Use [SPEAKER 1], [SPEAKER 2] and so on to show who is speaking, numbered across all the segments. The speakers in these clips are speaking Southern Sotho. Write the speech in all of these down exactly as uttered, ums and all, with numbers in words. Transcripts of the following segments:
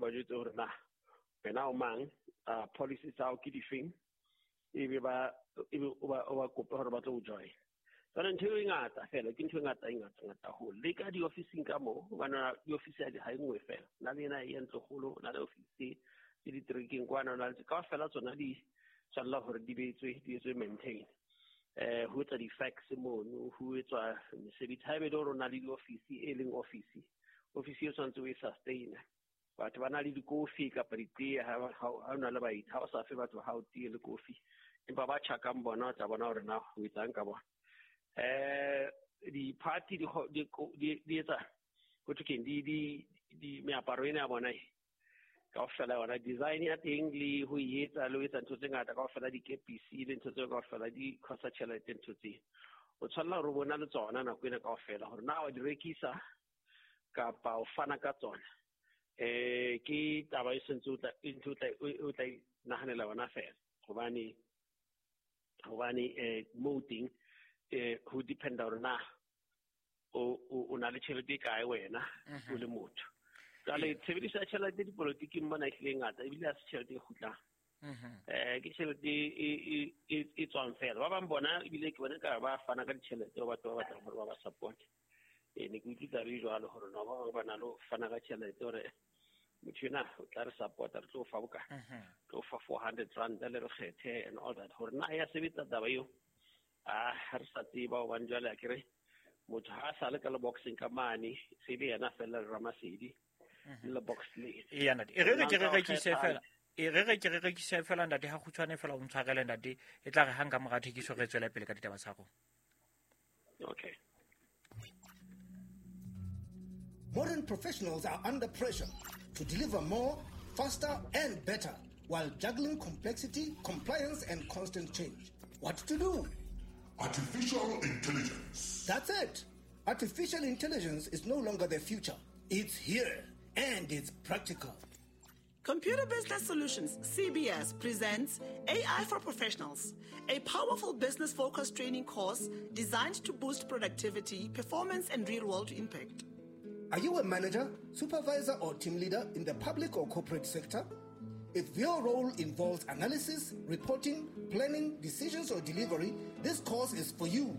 [SPEAKER 1] ba jwetse hore na wena o mang, uh, policy tsa hao ke difeng, ebe ba ebe o ba o ba kope hore ba tlo o join. Jwale ntho eo e ngata fela, ke ntho e ngata e ngata ngata haholo. Le ka diofising ka moo, hobane diofisi ha di ha e nngwe fela. Na le ena e ntlokgolo, na le ofisi tse diterekeng kwana, na le kaofela tsona di tshwanela hore di betswe, di etswe maintain. Eh, ho etsa di-fax mono, ho etswa mesebetsi. Haebe le hore o na le diofisi e leng ofisi, ofisi e tshwanetse o e sustain. Batho ba na le dikofi kapa ditee ha ha o na le baeti, ha o sa fe batho ha o tee le kofi, empa ba tjhakang bona o tla bona hore na o etsang ka bona. Eh, di-party di di di di etsa ho thwe keng, di di di meaparo ena ya bona e kaofela yona design ya teng le ho e etsa le ho etsa ntho tse ngata kaofela, dikepisi le ntho tseo kaofela di costa tjhelete ntho tseo. O tshwanela hore o bona le tsona nako ena kaofela hore na wa di rekisa kapa o fana ka tsona. Eh, ke taba e sentse o tla ntho o tla o tla nahanela yona fela, hobane hobane eh mo teng eh ho dependa hore na o o na le tjhelete e kae wena o le motho. Jwale tshebediso ya tjhelete dipolotiking mona e hlile ngata, ebile ha se tjhelete e kgutlang. Eh ke tjhelete e e e tswang fela. Ba bang bona ebile ke bona ka ba fana ka ditjhelete ho batho ba batlang hore ba ba support. Eh ne ke utlwe taba e jwalo hore no ba bang ba na le ho fana ka tjhelete hore motho ena o tla re support, re tlo fa bokae, tlo fa four hundred rand le re kgethe and all that. Hore na ya sebetsa taba eo, ah ha re sa tseba hobane jwale a ke re motho ha sa le ka le boxing ka mane, se be yena fela le Ramasedi le box le.
[SPEAKER 2] Eya ntate, e re re ke re rekise fela, e re re ke re rekise fela ntate, ha kgutshwane fela o ntshwarele ntate, e tla re hang ka mora thekiso re tswele pele ka ditaba tsa rona.
[SPEAKER 1] Okay.
[SPEAKER 3] Modern professionals are under pressure to deliver more, faster and better while juggling complexity, compliance and constant change. What to do?
[SPEAKER 4] Artificial intelligence.
[SPEAKER 3] That's it. Artificial intelligence is no longer the future. It's here and it's practical.
[SPEAKER 5] Computer Business Solutions, C B S, presents A I for Professionals, a powerful business-focused training course designed to boost productivity, performance, and real-world impact.
[SPEAKER 3] Are you a manager, supervisor, or team leader in the public or corporate sector? If your role involves analysis, reporting, planning, decisions, or delivery, this course is for you.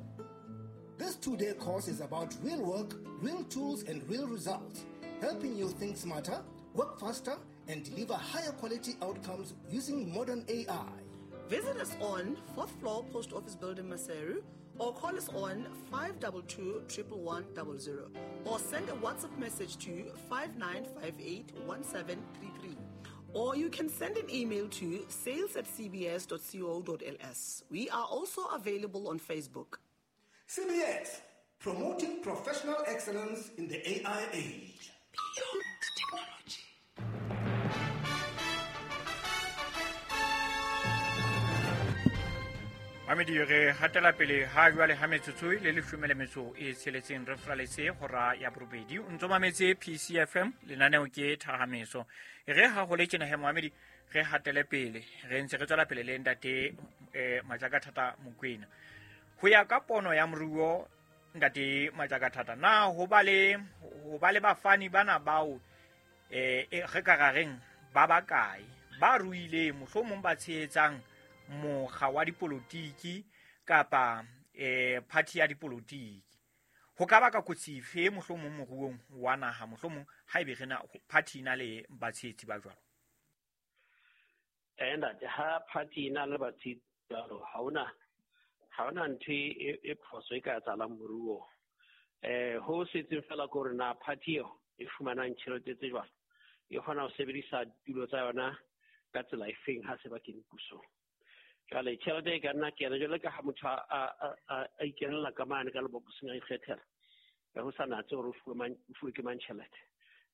[SPEAKER 3] This two-day course is about real work, real tools, and real results, helping you think smarter, work faster, and deliver higher quality outcomes using modern A I.
[SPEAKER 5] Visit us on fourth floor Post Office Building, Maseru, or call us on five two two, triple one, double zero, or send a WhatsApp message to five nine five eight, one seven three three. Or you can send an email to sales at c b s dot co dot l s. We are also available on Facebook.
[SPEAKER 3] C B S, promoting professional excellence in the A I age.
[SPEAKER 5] Beyond technology.
[SPEAKER 2] Mamedi re hatela pele ha jwale ha metsotso le leshome le metso e tsheletseng re fraletse hora ya borobedi. O ntso mametse P C F M, lenaneo ke Thahameso. Re ha ho le tjena he Mohamedi re hatele pele, re ntse re tswela pele le ntate eh Majakathata Mokoena. Ho ya ka pono ya moruo ntate Majakathata, na ho ba le ho ba le bafani bana bao eh re ka ra reng ba bakae ba ruileng mohlomong ba tshehetsang mokga wa dipolotiki kapa eh party ya dipolotiki, ho ka baka kotsi efe mohlomong moruong wa naha, mohlomong haebe re na party ina le batshehetsi ba jwalo?
[SPEAKER 1] Eh ntate, ha party ina le batshehetsi jwalo, ha hona ha hona ntho e e phoso e ka etsahalang moruong. Eh ho setseng fela ke hore na party eo e fumanang tjhelete tse jwalo e kgona ho sebedisa ditulo tsa yona ka tsela efeng ha se ba kene pusong. Jwale tjhelete e ka nna kena jwale ka ha motho a a a ikenela ka mane ka lebokoseng a ikgethela, ka ho sa natse hore o fuwe mang, o fuwe ke mang tjhelete.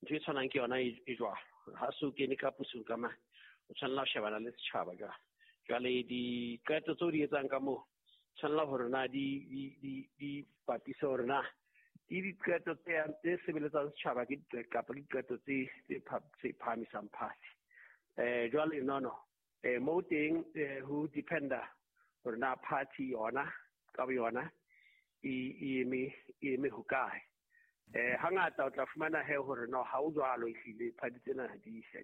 [SPEAKER 1] Ntho e tshwanang ke yona e jwalo. Ha se o kene ka pusong ka mane, o tshwanela ho shebana le setjhaba jwale. Jwale diqeto tseo di etsang ka moo, tshwanela hore na di di di di bapise hore na di diqeto tse tse sebeletsang setjhaba ke diqeto kapa diqeto tse tse phahamisang party. Eh jwale no no eh mo teng ho dependa hore na party yona ka yona e e eme e eme hokae. Eh hangata o tla fumana he hore no ha o jwalo ehlile party tsena di